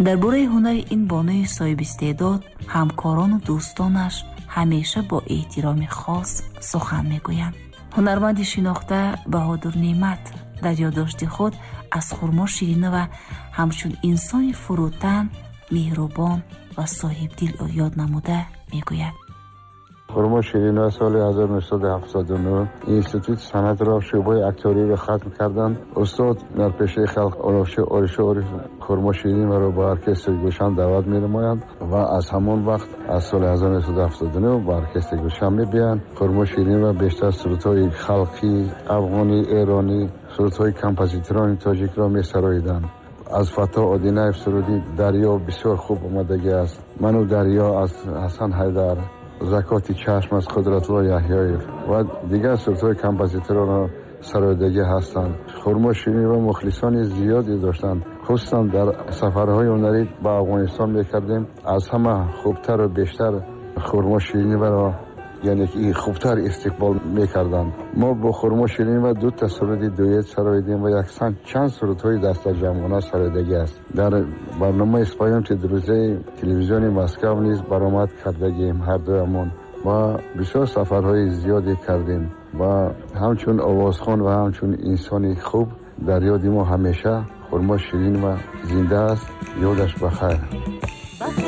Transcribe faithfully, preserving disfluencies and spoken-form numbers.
Дар бораи ҳунари ин бонуи соҳибистеъдод ҳамкорону дӯстонаш ҳамеша бо эҳтироми хос сухан мегӯянд. Ҳунарманди шинохта Баҳодур Неъмат дар ёддошти худ аз Хурмо Ширинова ҳамчун инсони фурӯтан, меҳрубон ва соҳибдил ёд намуда мегӯяд: Хурмо Ширинова соли ҳазору нӯҳсаду ҳафтоду нӯҳ Институти санъатро, шӯъбаи актёриро хатм карданд. Устод, ҳунарпешаи халқ Орифшо Ориф Хурмо Шириноваро ба оркестри Гулшан даъват менамоянд ва аз ҳамон вақт, аз соли ҳазору нӯҳсаду ҳафтоду нӯҳ, ба оркестри Гулшан мебиёянд. Хурмо Ширинова бештар сурудҳои халқӣ, афғонӣ, эронӣ, сурудҳои композиторони тоҷикро месароиданд. Аз Фаттоҳ Одинаев суруди «Дарё» бисёр хуб омадагӣ аст, «Ману дарё» аз Ҳасан Ҳайдар, «Закоти чашм» аз Қудратулло Яҳёев ва дигар сурудҳои композиторонро сароидагӣ ҳастанд. Хурмо Ширинова мухлисони зиёде доштанд. Хусусан дар сафарҳои ҳунарӣ ба Афғонистон мекардем, аз ҳама хубтару бештар Хурмо Шириноваро, яъне ки хубтар истиқбол мекарданд. Мо бо Хурмо Ширинова ду та суруди дуэт сароидем ва якчанд чанд сурудҳои дастаҷамъона сароидагӣ аст. Дар барномаи «Споёмте, друзья» телевизиони Москав низ баромад кардагием ҳардуямон ва бисёр сафарҳои зиёде кардем ва ҳамчун овозхон ва ҳамчун инсони хуб дар ёди мо ҳамеша Хурмо Ширинова зинда аст. Ёдаш ба хайр.